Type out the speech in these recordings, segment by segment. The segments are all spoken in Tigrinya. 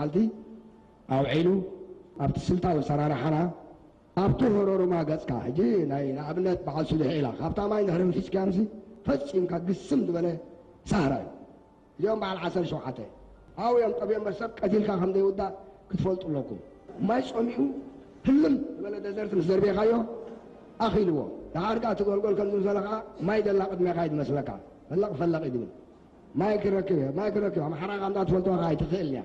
ዓልቲ ኣውዒሉ ኣብቲ ስልታዊ ኣሰራርሓና ኣብቲ ሆሮሩማ ገጽካ፣ ሕጂ ናይ ንኣብነት በዓል ስሉሒ ኢላ፣ ካብታ ማይ እንድሕሪ ምፊጽካያ ምሲ ፈጺምካ ግስም ዝበለ ሳህራ እዩ። እዚኦም በዓል ዓሰርተ ሸውዓተ ኣብኡ እዮም ጠብዮም እምበር ሰብ ቀቲልካ ከም ዘይውዳእ ክትፈልጡ ኣለኩም። ማይ ጸሚኡ ህልም ዝበለ ደዘርት ምስ ዘርቤኻዮ ኣኺልዎ። ደሓር ከኣ እቲ ጎልጎል ከም ዝምሰለ ከኣ ማይ ደላ ቅድሜኻ እዩ ዝመስለካ። ፈለቕ ፈለቕ እዩ ዝብል። ማይ ክረክብ እየ፣ ማይ ክረክብ እየ። ኣምሓራ ከኣ እንዳ ትፈልጥዋ ከኣ ኣይትኽእልን እያ።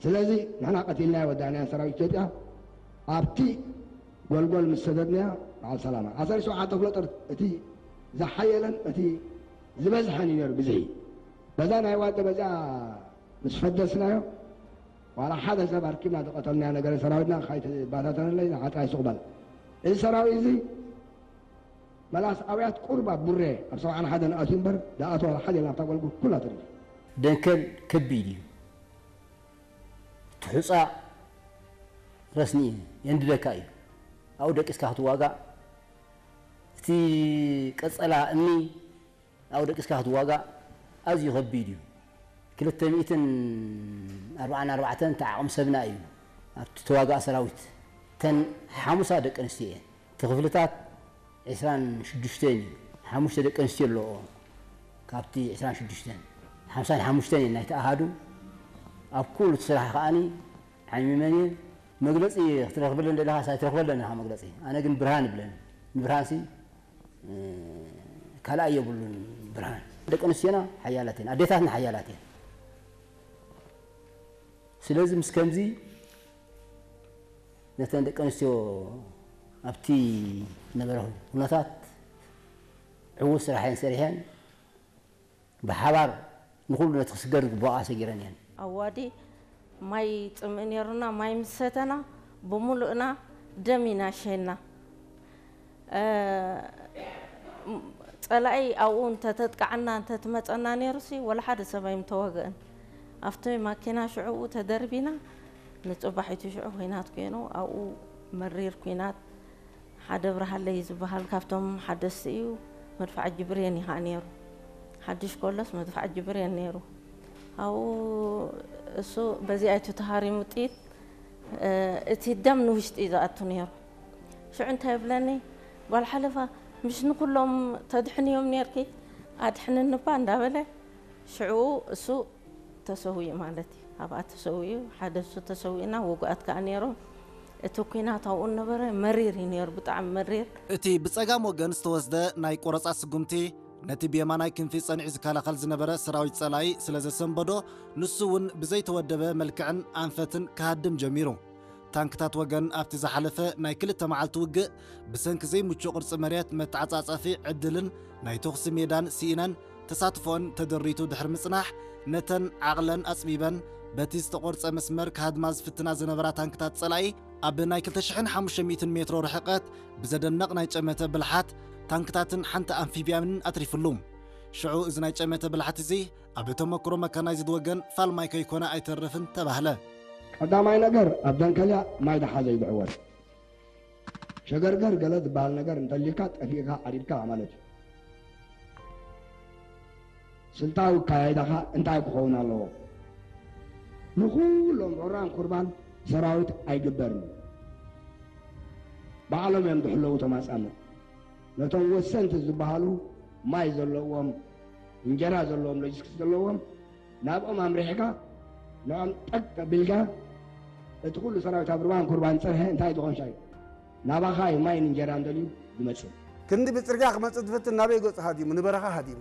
ስለዚ ንሕና ቀቲልናዮ ወዳእናዮ ሰራዊት ኢትዮጵያ ኣብቲ ጎልጎል ምስ ሰደድናዮ በዓል ሰላማ ዓሰርተ ሸውዓተ ክፍለ ጦር እቲ ዝሓየለን እቲ ዝበዝሐን እዩ ነይሩ ብዝሒ። በዛ ናይ ዋደ በዚኣ ምስ ፈደስናዮ ዋላ ሓደ ሰብ ኣርኪብና ዝቐተልናዮ ነገር ሰራዊትና ከይተባታተነለይ ንዓጥራይ ስቕ በል። እዚ ሰራዊት እዚ መላስ ኣውያት ቁሩብ ኣብ ቡሬ ኣብ ሰብዓን ሓደን ኣትዩ እምበር ዝኣተወ ሓደ ናብታ ጎልጎል ኩላ ተሪፉ። ደንከል ከቢድ እዩ። እቲ ሑጻ ረስኒ የንድደካ እዩ። ኣብኡ ደቂስካ ክትዋጋእ፣ እቲ ቀጸላ እምኒ ኣብኡ ደቂስካ ክትዋጋእ ኣዝዩ ከቢድ እዩ። ክልተ ሚእትን ኣርባዓን ኣርባዕተን እቲ ዓቕሚ ሰብና እዩ ኣብቲ ተዋጋእ ሰራዊት። እተን ሓሙሳ ደቂ ኣንስትዮ እየን። እቲ ክፍልታት ዕስራን ሽዱሽተን እዩ። ሓሙሽተ ደቂ ኣንስትዮ ኣለዎ ካብቲ ዕስራን ሽዱሽተን። ሓምሳን ሓሙሽተን እየን ናይቲ ኣሃዱ። ኣብ ኩሉ እቲ ስራሕ ከኣኒ ዓሚመን እየ። መግለጺ ክትረኽበለን ደለኻ ሳይ ትረኽበለን ኢኻ መግለጺ። ኣነ ግን ብርሃን ይብለን። ንብርሃንሲ ካልኣይ የብሉን ብርሃን። ደቂ ኣንስትዮና ሓያላት እየን፣ ኣዴታትና ሓያላት እየን። ስለዚ ምስ ከምዚ ነተን ደቂ ኣንስትዮ ኣብቲ ነበረ ኩነታት ዕዉት ስራሕ እየን ሰሪሐን። ብሓባር ንኹሉ ነቲ ክስገር ዝግባኣ ሰጊረን እየን። ኣዋዲ ማይ ጽምእ ነይሩና፣ ማይ ምስ ሰተና ብምሉእና ደም ኢና ሸይና። ጸላኢ ኣብኡ እንተተጥቃዓና እንተትመጸና ነይሩሲ ወላ ሓደ ሰብ ኣይምተዋግእን። ኣብቲ ማኪና ሽዑኡ ተደርቢና ንጽባሒቱ ሽዑ ኲናት ኮይኑ ኣብኡ መሪር ኲናት ሓደ ብርሃለይ ዝበሃል ካብቶም ሓደስቲ እዩ። መድፍዓጂ ብሬን እዩ ከዓ ነይሩ። ሓድሽ ኮሎስ መድፍዓጂ ብሬን ነይሩ። ኣብኡ እሱ በዚኣ እዩ ተሃሪሙ ጥይት፣ እቲ ደም ንውሽጢ እዩ ዝኣቱ ነይሩ። ሽዑ እንታይ ይብለኒ፣ ጓል ሓለፋ፣ ምሽ ንኩሎም ተድሕንዮም ነይርኪ፣ ኣድሕንኒ እባ እንዳበለ ሽዑ እሱ ተሰዊኡ ማለት እዩ። ኣብኣ ተሰዊኡ፣ ሓደ እሱ ተሰዊኡና፣ ውጉኣት ከዓ ነይሮም። እቲ ኲናት ኣብኡ ነበረ፣ መሪር እዩ ነይሩ፣ ብጣዕሚ መሪር። እቲ ብጸጋም ወገን ዝተወስደ ናይ ቆረጻ ስጉምቲ፣ ነቲ ብየማናይ ክንፊ ጸኒዑ ዝከላኸል ዝነበረ ሰራዊት ጸላኢ ስለ ዘሰንበዶ፣ ንሱ እውን ብዘይተወደበ መልክዕን ኣንፈትን ክሃድም ጀሚሩ። ታንክታት ወገን ኣብቲ ዝሓለፈ ናይ ክልተ መዓልቲ ውግእ፣ ብሰንኪ ዘይምቹእ ቅርጺ መሬት፣ መተዓጻጸፊ ዕድልን ናይ ተኹሲ ሜዳን ስኢነን፣ ተሳትፎኦን ተደሪቱ ድሕሪ ምጽናሕ፣ ነተን ዓቕለን ኣጽቢበን በቲ ዝተቖርጸ መስመር ክሃድማ ዝፍትና ዝነበራ ታንክታት ጸላኢ፣ ኣብ ናይ ክልተ ሽሕን ሓሙሽተ ሚእትን ሜትሮ ርሕቀት ብዘደንቕ ናይ ጨመተ ብልሓት ታንክታትን ሓንቲ ኣምፊብያንን ኣትሪፍሉ። ሽዑ እዚ ናይ ጨመተ ብልሓት እዚ ኣብ ተመክሮ መካናይዝድ ወገን ፋልማይ ከይኮነ ኣይተርፍን ተባህለ። ቀዳማይ ነገር ኣብ ደንከልያ ማይ ደሓዘ እዩ ዝዕወት። ሸገርገር ገለ ዝበሃል ነገር እንተሊካ ጠፊእካ ዓሪድካ ማለት እዩ። ስልታዊ ኣካያይዳኻ እንታይ ክኸውን ኣለዎ? ንኹሎም ዑራን ኩርባን ሰራዊት ኣይግበርን እዩ። ባዕሎም እዮም ዝሕለዉ እቶም ኣጻምእ። ነቶም ወሰንቲ ዝበሃሉ ማይ ዘለዎም፣ እንጀራ ዘለዎም፣ ሎጂስቲክስ ዘለዎም ናብኦም ኣምሪሕካ ንዖም ጠቅ ኣቢልካ እቲ ኩሉ ሰራዊት ኣብ ርባን ኩርባን ጸንሐ እንታይ ዝኾንሻ እዩ ናባኻ እዩ ማይን እንጀራን ደልዩ ዝመጽእ። ክንዲ ብጽርግያ ክመጽእ ዝፍትን ናበይ ገጹ ሃዲሙ? ንበረኻ ሃዲሙ።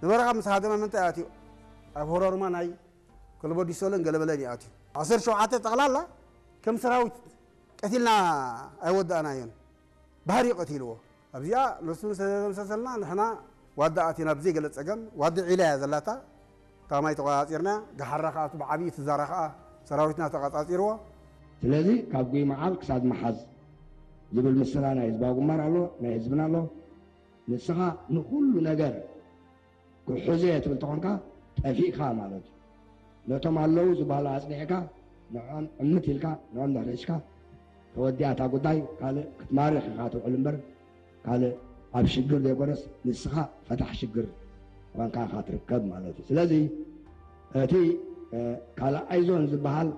ንበረኻ ምስ ሃደመ ምንታይ ኣትዩ? ኣብ ሆሮርማ ናይ ኮልቦዲሶልን ገለበለን እዩ ኣትዩ። ዓሰርተ ሸውዓተ ጠቕላላ ከም ሰራዊት ቀቲልና ኣይወዳእናዮን። ባህር እዩ ቀቲልዎ። ኣብዚኣ ንሱ ምስ ተደምሰሰልና ንሕና ዋዲ ኣቲና ብዘይ ገለ ጸገም፣ ዋዲ ዒላ እያ ዘላታ፣ እታ ማይ ተቖጻጺርና፣ ገሓራ ከኣ እቲ ብዓብዪ ትዛራ ከኣ ሰራዊትና ተቐጻጺርዎ። ስለዚ ካብ ጉይ መዓል ክሳድ መሓዝ ዝብል ምስላ ናይ ህዝባዊ ግንባር ኣሎ፣ ናይ ህዝብና ኣሎ። ንስኻ ንኹሉ ነገር ክሕዞ እየ ትብል ተኾንካ ጠፊእካ ማለት እዩ። ነቶም ኣለዉ ዝበሃሉ ኣጽኒዕካ ንዕኦም ዕምት ኢልካ ንዕኦም ድሕሪ ሒዝካ ተወዲኣ እታ ጉዳይ ካልእ ክትማርኽ ኢኻ ትውዕል እምበር ካልእ ኣብ ሽግር ዘይኮነስ ንስኻ ፈታሕ ሽግር ኮንካ ኢኻ ትርከብ ማለት እዩ። ስለዚ እቲ ካልኣይ ዞን ዝበሃል